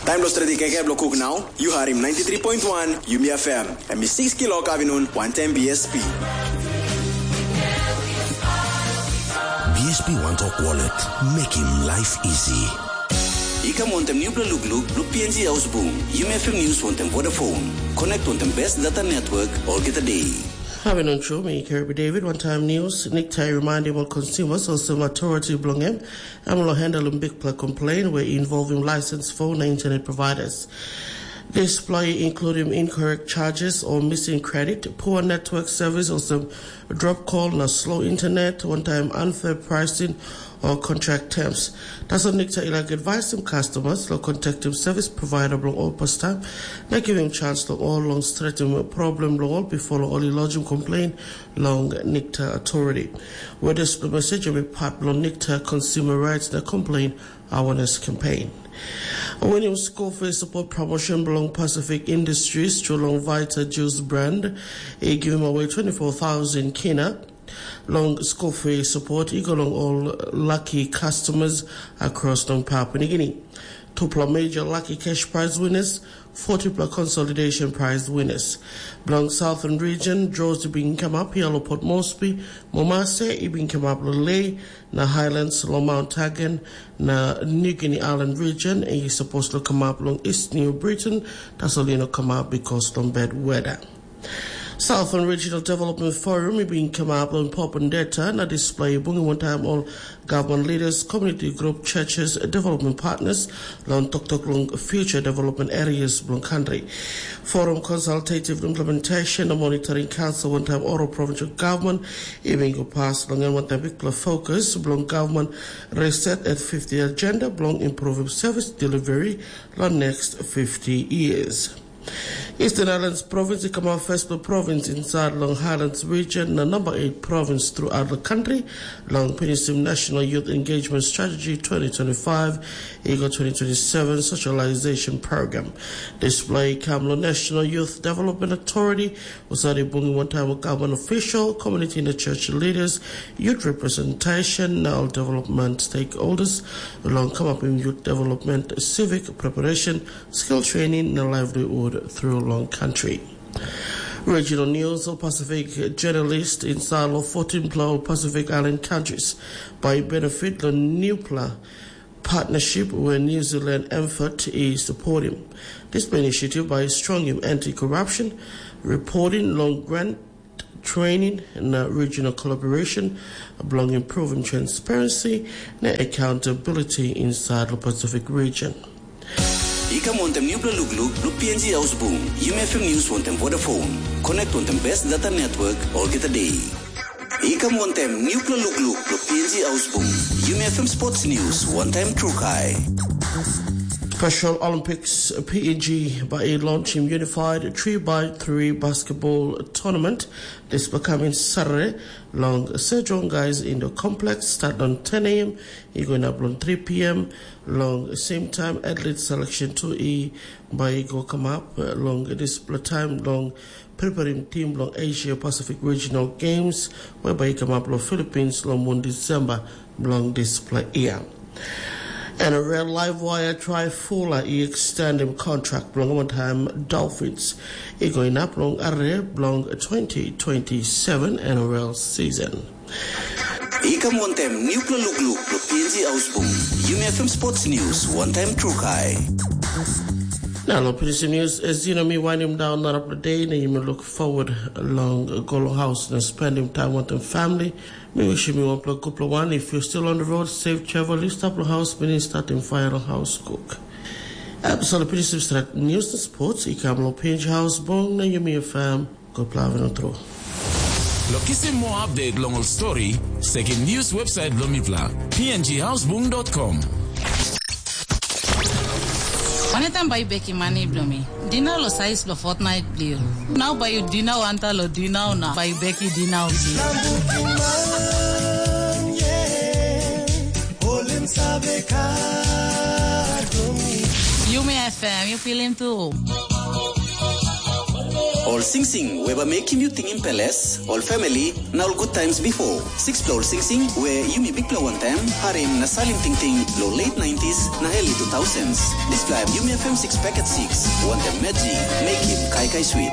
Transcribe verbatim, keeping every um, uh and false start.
Taim lo stredi kaikai bilong kuk nau, yu harim ninety three point one Yumi F M. Em i six kilok avinun, wantaim B S P. B S P One Talk Wallet, making life easy. I kam wantaim nupela lukluk bilong P N G Haus Bung, Yumi F M News wantaim Vodafone. Connect wantaim best data network olgeta day. Avinun tru, mi Kirby David, wantaim news. Nikta i reminding ol consumers olsem authority bilong em, em lo handling bikpela complain we involving license phone na internet providers. Dispela i including incorrect charges or missing credit, poor network service olsem drop call na slow internet, one time unfair pricing or contract terms. Tasol Nikta i laik advisim customers lo contactim service provider bilong ol pastaim na givim chance long ol long stretim problem long ol before long ol i lodgim complain long Nikta authority. Where dispela message em i part bilong Nikta Consumer Rights na Complain Awareness Campaign. Winim skul fee support promotion bilong Pacific Industries tru long Vita Juice brand i givim away twenty four thousand kina long skul fee support i go long ol lucky customers across long Papua New Guinea. Tupela major lucky cash prize winners, forty pela consolidation prize winners. Bilong Southern Region, draws i bin kamap hia lo Port Moresby, Momase i bin kamap lo Lae, na Highlands lo Mount Hagen, na New Guinea Island Region i suppose lo kamap long East New Britain, tasol i no kamap because long bad weather. Southern Regional Development Forum i bin kamap long Pop and Data na display bungim wantaim ol government leaders, community group, churches, development partners, long toktok long future development areas bilong country. Forum Consultative Implementation na Monitoring Council wantaim Oro Provincial Government i bin go pas long en wantaim bikpela fokus bilong government reset at fifty agenda bilong improving service delivery long next fifty years. Eastern Highlands Province i kamap firstpela province inside long Highlands region na number eight province throughout the country long finishing National Youth Engagement Strategy twenty twenty-five i go twenty twenty-seven Socialization Program. Display kam long National Youth Development Authority, was already bunging one time with government official, community and church leaders, youth representation, now development stakeholders, along come up in youth development, civic preparation, skill training na livelihood through long country. Regional News of Pacific journalist in Salo fourteen pela Pacific Island countries by benefit the new pla partnership where New Zealand effort is supporting. This initiative by strong anti-corruption, reporting long grant training na regional collaboration bilong improving transparency na accountability inside the Pacific region. I kam wantaim nupela lukluk bilong P N G Ausbung, Yumi F M News wantaim Vodafone. Connect wantaim best data network olgeta day. I kam wantaim nupela lukluk bilong P N G Ausbung, Yumi F M Sports News wantaim Trukai. Special Olympics P N G by a launching unified three by three basketball tournament. This becoming Saturday long Sejong Guys Indoor Complex start on ten a.m. It going up on three p.m. Long same time, athlete selection two e by go come up uh, long this time long preparing team long Asia Pacific Regional Games, whereby come up long Philippines long one December long this play year. And a real live wire try Fula e extend him contract long one time Dolphins. E going up long are long twenty twenty-seven N R L season. I kam wantaim nupela lukluk bilong P N G Ausbung, Yumi F M Sports News wantaim Trukai. Na long pinisim news, as you know, mi wainim daun narapela de na yumi look forward long go long haus na spending time wantaim family. Mi wishim yu wanpela gutpela wan. If you still on the road, safe travel. Yu stap long haus, mini statim fire long haus cook. Episode pinisim stret news na sports i kam long Pinch House Bong na Yumi F M. Gutpela avinun tru. Lo kisim moa update long ol stori, sekim news website bilong mipela, P N G housebung dot com. Wanetam bai bekim mani bilong mi? Dinau lo sais bilong fortnait bilong yu. Nau bai yu dinau anta lo dinau na bai beki dinau bilong yu. Yumi F M, yu pilim tu. Ol singsing we bai mekim yu tingim peles, ol family, na ol good times before. Sixpela ol singsing we yumi bikpela wantaim harim na salim tingting long late nineties na early two thousands. Dispela em Yumi F M six packet six, wantaim Medzi, mekim kaikai sweet.